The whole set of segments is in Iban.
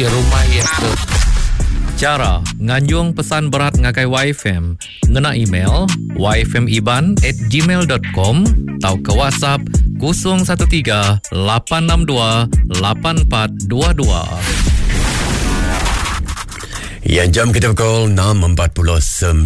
Rumah iya ke. Chara nganjung pesan berat ngagai YFM ngena email yfmiban@gmail.com tauka WhatsApp 013 862 8422. Ya, jam kita pukul 6.49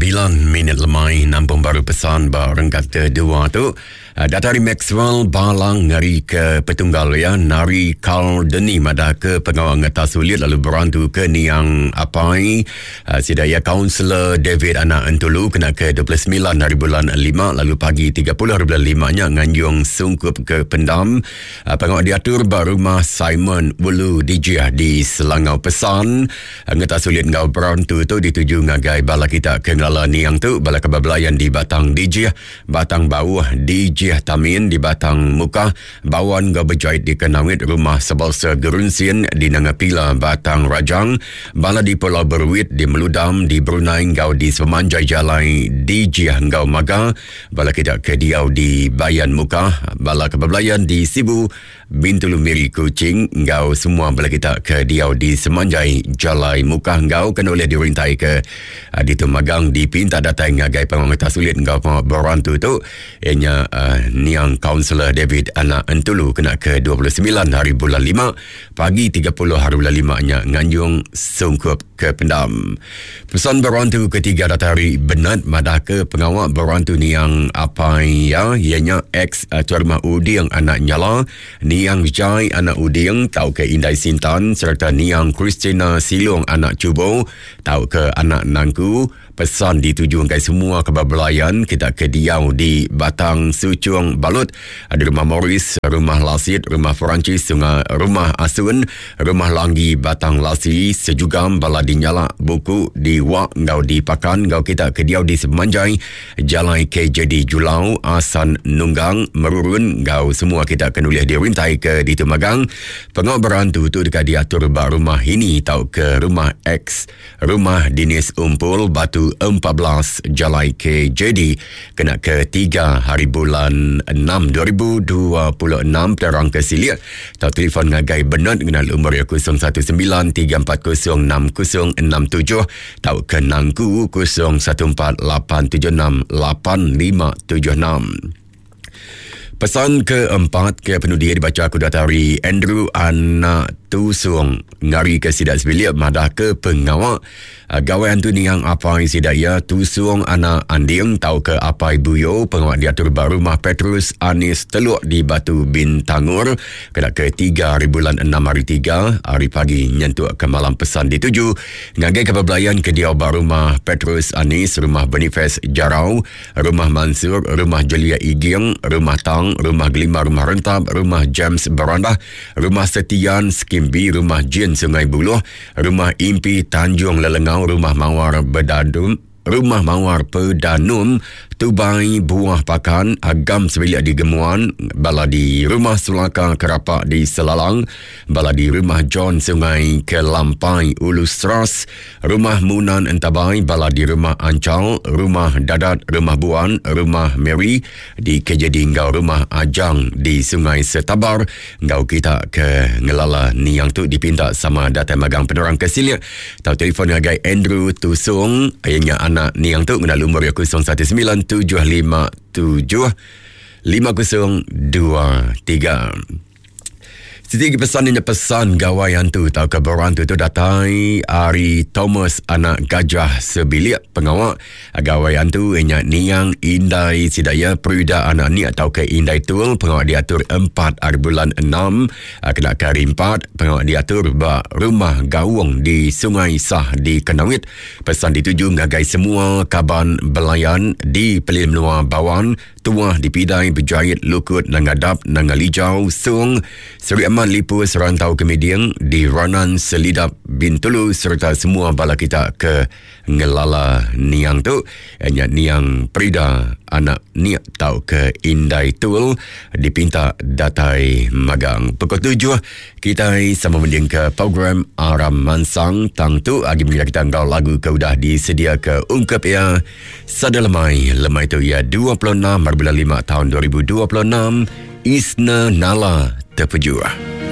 minit lemai nampung baru pesan ba renggat kedua tu. Ah, Datai ari Maxwell Balang ngari ke petunggal iya Nari Carl Deni madah ke pengawa ngetas ulit lalu berantu ke niang apai ah, sida iya Kaunselor David Anak Entulu kena ke 29 hari bulan 5 lalu pagi 30 hari bulan 5 nya nganjung sungkup ke pendam ah, pengawa diatur ba rumah Simon Ulu Dijih di Selangau Pesan Ngetas ulit enggau berantu tu dituju ngagai bala kita ke ngelala niang tu bala ke bebelayan di Batang Dijih Batang Bauh di Jih Tamin di Batang Mukah, Bawan enggau Bejait di Kenawit, Rumah Sebalsa Gerunsin di Nanga Pila, Batang Rajang, bala di Pulau Beruit di Meludam di Brunei enggau di sepemanjai jalai di Jih enggau Maga, bala kita ke diau di Bayan Mukah, bala ke bebelayan di Sibu, Bintulu Miri Kuching enggau semua bala kita ke diau di semanjai jalai Mukah enggau kena ulih dirintai ke uh, ditu magang dipinta datai ngagai pengawa ngetas ulit enggau pengawa berantu tu iya nya uh, niang Kaunselor David Anak Entulu kena ke 29 hari bulan 5 pagi 30 hari bulan 5 nya nganjung sungkup ke pendam. Pesan berantu ketiga datai ari Bernard madah ke pengawa berantu niang apai iya iya nya ex eh, tuan rumah Uding anak Nyala, niang Jai anak Uding tauka Indai Sintan sereta niang Christina Silong anak Chubo tauka anak Nangku. Pesan dituju ngagai semua ke bebelayan kita ke diau di Batang Suchung Balut, di Rumah Morris, Rumah Lasit, Rumah Perancis, Sungai Rumah Asun, Rumah Langgi Batang Lasi, Sejugam, Bala di Nyalak, Buku, di Wak enggau di Pakan enggau kita ke diau di sepemanjai Jalai KJD Julau, Asan Nunggang, Merurun enggau semua kita ke nulih dirintai ke ditu magang. Pengawa berantu tu deka diatur ba rumah ini tauka rumah X. Rumah Dinis Umpul Batu 14 Jalai KJD kena ke 3 hari bulan 6 2026 terang ke silik tau telefon ngagai Bernard ngena lumur iya 019 340 6067 tau ke nangku 014 876 8576. Pesan keempat ke penudi dibaca aku datai ari Andrew Anak Tusung ngari ke sida sebilik madah ke pengawa ah, gawai antu niang apai sida iya Tusung Anak Anding tauka Apai Buyo pengawa diatur ba rumah Petrus Anis Teluk di Batu Bintangor kena ke 3 hari bulan 6 hari 3 hari pagi nyentuk ke malam pesan dituju ngagai ke bebelayan ke diau ba rumah Petrus Anis rumah Boniface Jarau Rumah Mansur, Rumah Jelia Iging, Rumah Tang, Rumah Gelima Rumah Rentap, Rumah James Berandah, Rumah Setian Skimbi, Rumah Jin Sungai Buluh, Rumah Impi Tanjung Lelengau, Rumah Mawar Bedadum, Rumah Mawar Pedanum, Tubai Buah Pakan, Agam Sebilik di Gemuan, Bala di Rumah Sulaka Kerapak di Selalang, Bala di Rumah John Sungai Kelampai Ulu Seras, Rumah Munan Entabai, bala di Rumah Anchal, Rumah Dadat, Rumah Buan, Rumah Mary di KJD enggau Rumah Ajang di Sungai Setabar enggau kita ke ngelala niang tu dipinta sama datai magang penerang ke silik tau telefon ngagai Andrew Tusung iya nya anak niang tu ngena lumur iya 019 757 5023. Siti agi pesan inya pesan gawai antu tauka berantu tu datai ari Thomas anak Gajah sebilik pengawa gawai antu inya niang indai sida iya Prida anak Nik tauka Indai Tul pengawa diatur empat ari bulan enam kena ke hari empat pengawa diatur ba Rumah Gaung di Sungai Sah di Kanowit pesan dituju ngagai semua kaban belayan di Pelilih Menua Bawan Tuah dipidai bejait lukut Nanga Dap, Nanga Lijau, Song, Seri Aman Lipus, Rantau Kemiding, di Ranan Selidap, Bintulu sereta semua bala kita ke ngelala niang tu nya niang Prida anak Nik tauka Indai Tul dipinta datai magang. Pukul tujuh kitai sama mendingka program Aram Mansang tang tu agi mega kita enggau lagu ke udah disediaka ungkup iya. Sada lemai, lemai tu iya 26 hari bulan 5 tahun 2026, Isna Nala Terpejuah.